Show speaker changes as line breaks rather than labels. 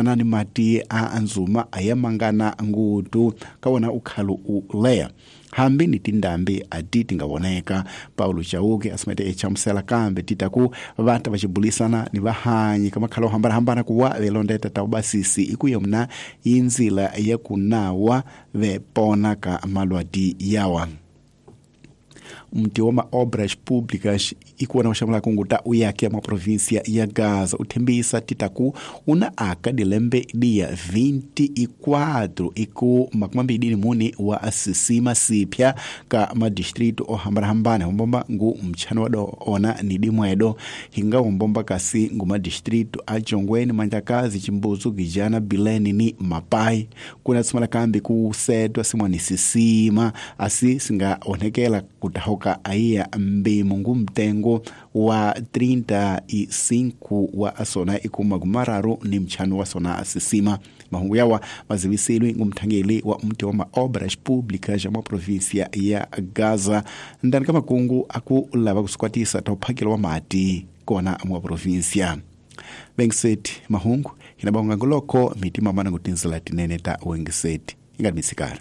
Fanana ni mati a nzuma a ya mangana ngutu ka wona ukhalu u leya hambi ni tindambi a ti ti nga voneka. Paulo Chauke asimete echamusela kambe ti ta ku va ta va xibulisana ni vahanyi ka makhala o hambanahambana ku wa velondeta ta ubasisi i ku yomna i ndzila ya ku nawa ve pona ka malwadi yawa. Mti wa maobras públicas ikuona uxamula kunguta uyake mwa província ya Gaza uthembisa titaku una aka dilembe dia 24 iku 24 wa sisima sipya ka madistrito ohambanahambana hombomba ngu mtchano wado ona ni dimwedo hinga hombomba kasi ngu madistrito a Jongweni, Mandlakazi, Chimbuzu, Gijana, Bilene ni Mapai. Kuna tsimala kambi kusetwa simwani sisima asi singaonekela kutahoka aiya mbimu ngu mtengo wa 35 wa asona ikuma gumararu ni mchano wa sona asisima. Mahungu yawa mazivisilwi ngumthangeli wa mti wa maobras públicas ya província ya Gaza ndani ka makungu aku lava kusikwatisa ta uphakelo wa mati kona mwa província. Wengiseti mahungu hina bahunga nguloko mitima mana ngutinzela tinene ta wengiseti ingati misikari.